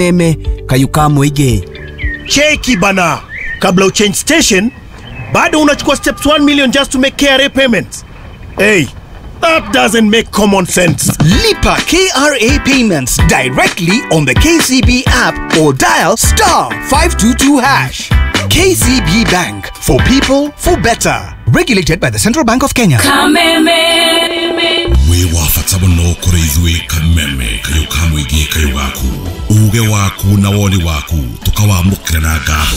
Kameme kayuka mwige. Cheki bana, kabla uchange station bado unachukua steps 1 million just to make KRA payments. Hey, that doesn't make common sense. Lipa KRA payments directly on the KCB app or dial star 522 hash. KCB Bank, for people, for better. Regulated by the Central Bank of Kenya. Kameme. Wĩ wa bata mũno kũrĩ ithuĩ. Kameme kayũ ka mũingĩ, kayũ gaku, uge waku na woni waku tũkawamũkĩra na ngatho.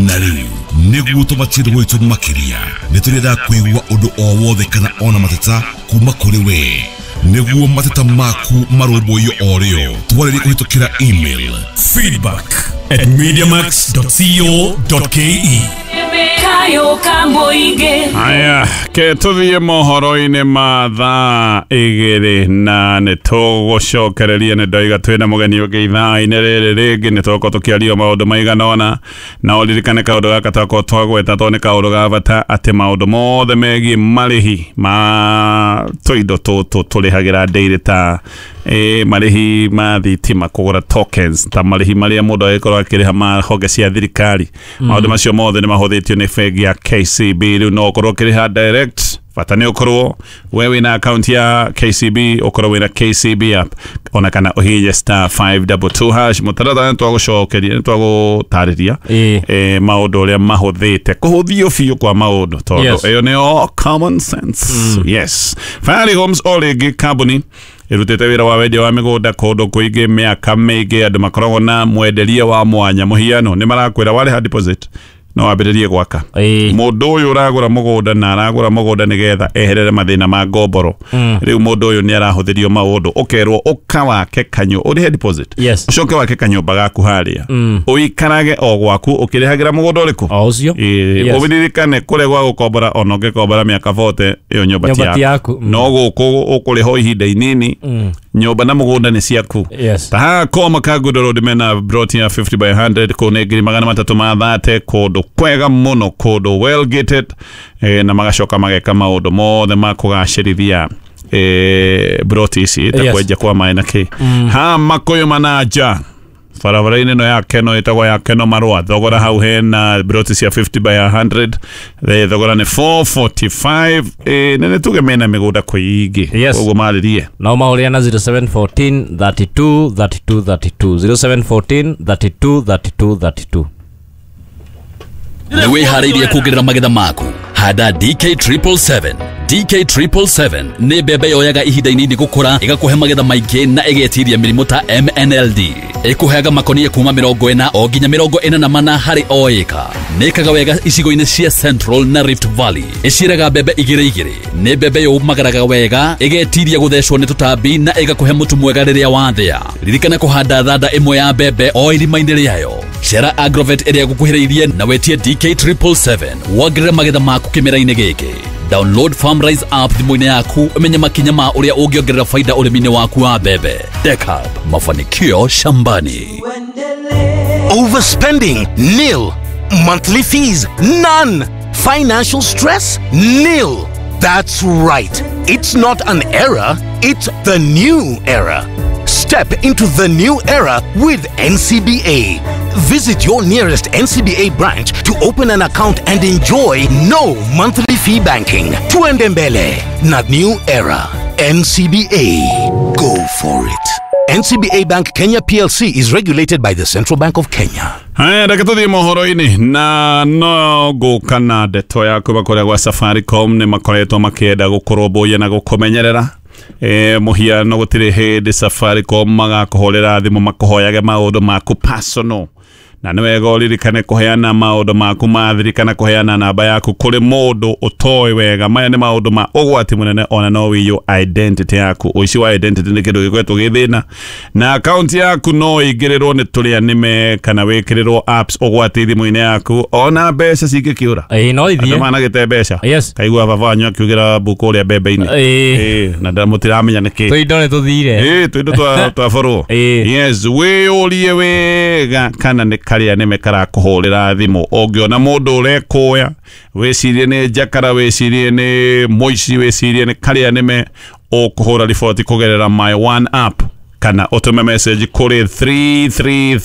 Na rĩu nĩguo tũmatie gwitũ makĩria, nĩ tũrenda kũigua ũndũ o wothe kana ona mateta kuma kũrĩ we, nĩguo mateta maku marũmbũiyo o rĩo. Twarĩrie kũhĩtũkĩra email feedback@mediamax.co.ke. Kayo ka mũingĩ. Aya, ke tũthiĩ mohoro-inĩ ma thaa 2 na nĩ tũgũcokereria. Nĩ ndoiga twĩna mũgeni ũngĩ ithaa-inĩ rĩrĩ rĩngĩ, nĩ tũgũkorwo tũkĩaria maũndũ maigana ũna. Na ũririkane kaũndũ gaka twakorwo twagweta, tondũ nĩ kaũndũ ga bata, atĩ maũndũ mothe megiĩ marĩhi ma tũindo tũtũ tũrĩhagĩra daily, ta marĩhi ma thitima, kũgũra tokens, ta marĩhi marĩa mũndũ agĩkorwo akĩrĩha ma honge cia thirikari, maũndũ macio mothe nĩ mahũthĩtio nĩ bengi ya KCB. Rĩu no ũkorwo ũkĩrĩha direct, bata nĩ ũkorwo we wĩna account ya KCB, ũkorwo wĩna KCB app, ona kana ũhihinye *522#. Mũtaratara nĩ twagũcokeria, nĩ twagũtarĩria maũndũ ũrĩa mahũthĩte, kũhũthio biũ kwa maũndũ, tondũ ĩyo nĩyo common sense. Yes, Fahari Homes o rĩngĩ, kambuni ĩrutĩte wĩra wa wendia wa mĩgũnda kũndũ kũingĩ mĩaka mĩingĩ. Andũ makoragwo na mwenderie wa mwanya. Mũhiano, nĩ marakwĩra warĩha deposit no wambĩrĩrie gwaka. Mũndũ ũyũ ũragũra mũgũnda na aragũra mũgũnda nĩgetha eherere mathĩna ma ngomboro, rĩu mũndũ ũyũ nĩ arahũthĩrio maũndũ, ũkerwo ũka wake kanyo ũrĩhe deposit, ũcoke wake kanyũmba gaku harĩa, ũikarage o gwaku ũkĩrĩhagĩra mũgũnda ũrĩkũ? O ũcio. Ũririkane kũrĩa gwa gũkombora, ona ũngĩkombora mĩaka 40, ĩyo nyũmba ti Nyũmba ti yaku. yaku. No gũkũ ũkũrĩha o ihinda inini, nyũmba na mũgũnda nĩ ciaku. Ta haha Koma Kangundo Road mena plot ya 50 by 100, kũu nĩ 330,000, kũndũ kwega mũno, kũndũ well gated, na magacoka mageka maũndũ mothe ma kũgacĩrithia plot ici, ta kwenja kwa maĩ na kĩ. Ha Makũyũ Mananja, barabara-inĩ ĩno ya Keno ĩtagwo ya Keno Marũa, thogora hau hena plot cia 50 by 100, thogora nĩ 445. Na nĩ tuge mena mĩgũnda kũingĩ, koguo marĩrie. No mahũrĩre na 0714 32 32 32, 0714 32 32 32. Nĩ wĩharĩirie kuongerera magetha maku? Handa DK 777. DK 777 nĩ mbembe yoyaga ihinda inini gũkũra, ĩgakũhe magetha maingĩ na ĩgetiria mĩrimũ ta MNLD. Ĩkũheaga makonia kuma 40 o nginya 44 harĩ o ĩka. Nĩ ĩkaga wega icigo-inĩ cia Central na Rift Valley. Ĩciaraga mbembe igĩrĩ igĩrĩ. Nĩ mbembe yũmagaraga wega, ĩgetiria gũthecwo nĩ tũtambi na ĩgakũhe mũtu mwega rĩrĩa wathĩa. Ririkana kũhanda thanda ĩmwe ya mbembe o irima-inĩ rĩayo. Cera Agrovet ĩrĩa gũkuhĩrĩirie na wetie DK 777 wongerere magetha maku kĩmera-inĩ gĩkĩ. Download Farmrise app thimũ-inĩ yaku ũmenye makinya ma ũrĩa ũngĩongerera faida ũrĩmi-inĩ waku wa mbembe. Dekab, mafanikio shambani. Overspending? Nil. Monthly fees? None. Financial stress? Nil. That's right. It's not an era, it's the new era. Step into the new era with NCBA. Visit your nearest NCBA branch to open an account and enjoy no monthly fee banking. Tuendembele, not new era. NCBA. Go for it. NCBA Bank Kenya PLC is regulated by the Central Bank of Kenya. Haya, reke tũthiĩ mohoro-inĩ, na no ngũka na ndeto ya kuma kũrĩa gwa Safaricom. Nĩ makoretwo makĩenda gũkũrũmbũiya na gũkũmenyerera. Mũhiano, gũtirĩ hĩndĩ Safaricom magakũhũrĩra thimũ makũhoyage maũndũ maku personal, na nĩ wega ũririkane kũheana maũndũ maku ma thiri kana kũheana namba yaku kũrĩ mũndũ ũtoĩ wega. Maya nĩ maũndũ ma ũgwati mũnene, ona no wĩiywo identity yaku. Ũici wa identity nĩ kĩndũ gĩkoretwo gĩ thĩna, na akaunti yaku no ĩingĩrĩrwo nĩ tũrĩa nĩme kana wĩkĩrĩrwo apps ũgwati thimũ-inĩ yaku, ona mbeca cingĩkĩũra. Ĩĩ, no Andũ ithiĩ. managĩte mbeca. Kaigua baba wanyu akiugĩra mbuku ũrĩa mbembe-inĩ. Na mũtiramenya nĩkĩ. Tũindo nĩ tũthire. Ĩĩ, tũindo twaborwo. Yes, wĩyũrie wega kana nĩ karĩa nĩme karakũhũrĩra thimũ. Ũngĩona mũndũ ũrekũya, wĩcirie nĩ njakara, wĩcirie nĩ mũici, wĩcirie nĩ karĩa nĩme, ũkũhũra riboti kũgerera My One app. Kana ũtũme message kũrĩ 333.